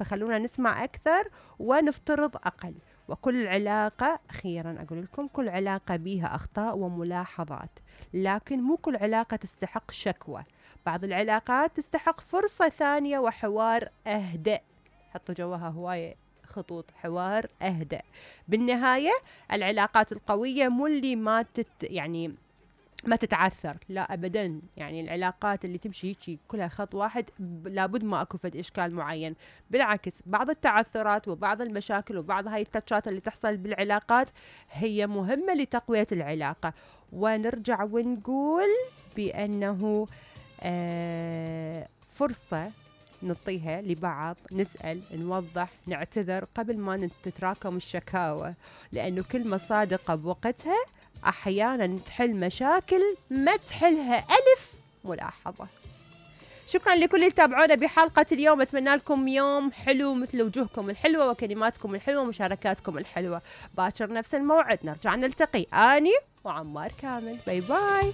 فخلونا نسمع أكثر ونفترض أقل. وكل علاقة، أخيرا أقول لكم، كل علاقة بيها أخطاء وملاحظات، لكن مو كل علاقة تستحق شكوى. بعض العلاقات تستحق فرصة ثانية وحوار أهدأ. حطوا جواها هواية خطوط، حوار أهدأ. بالنهاية العلاقات القوية مو اللي ما تتعثر، لا أبدا. يعني العلاقات اللي تمشي هيك كلها خط واحد لابد ما أكو فد إشكال معين. بالعكس، بعض التعثرات وبعض المشاكل وبعض هاي التاتشات اللي تحصل بالعلاقات هي مهمة لتقوية العلاقة. ونرجع ونقول بأنه فرصة نعطيها لبعض، نسأل، نوضح، نعتذر قبل ما تتراكم الشكاوى، لأنه كلمة صادقة بوقتها أحيانا تحل مشاكل ما تحلها ألف ملاحظة. شكرا لكل اللي تابعونا بحلقة اليوم. أتمنى لكم يوم حلو مثل وجوهكم الحلوة وكلماتكم الحلوة ومشاركاتكم الحلوة. باكر نفس الموعد نرجع نلتقي، أني وعمار كامل. باي باي.